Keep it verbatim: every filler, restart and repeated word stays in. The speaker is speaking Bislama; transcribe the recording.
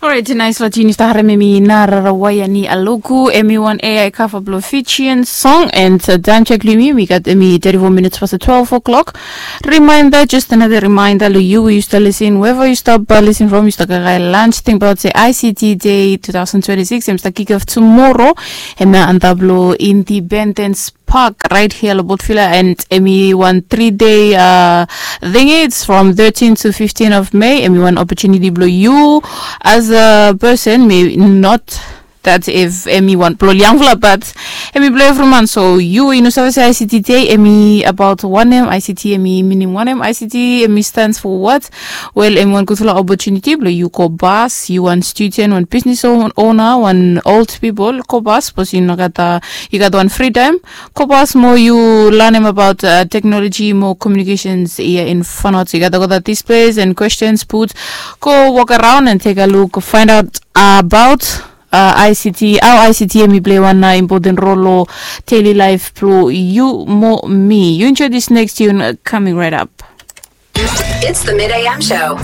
Orait, nais long jinis taharem emi narara waia ni aloku emi wan ai kava blong Fijian song and time check blong yumi emi gat emi thirty-four minutes past twelve o'clock. Reminder, just another reminder long yu we yu start lisin wherever yu start lisin from, yu start kaikai lunch, think about se I C T day two thousand twenty-six em start kick off tomorrow. Em na antap long Independence Park right here long Port Vila, and emi wan three day uh, thing, it's from thirteen to fifteen of May. Emi wan opportunity blong yu as a person, may not that if emi wan blong yangfala, but emi blong evriman. So yu yu no save se I C T day emi about wanem, I C T emi minim wanem, I C T emi stands for what? Well, emi wan gudfala opportunity blong yu go bas, yu wan student, wan business owner, wan old people go bas, sapos yu no gat uh, yu gat wan free time, go bas mo yu lanem about uh, technology mo communications ia in Vanuatu. Yu gat go that displays and questions put, go walk around and take a look, find out about uh, I C T, how I C T emi play wan uh, important role long daily life blong yu mo mi. You enjoy this next tune uh, coming right up. It's the Mid A M show.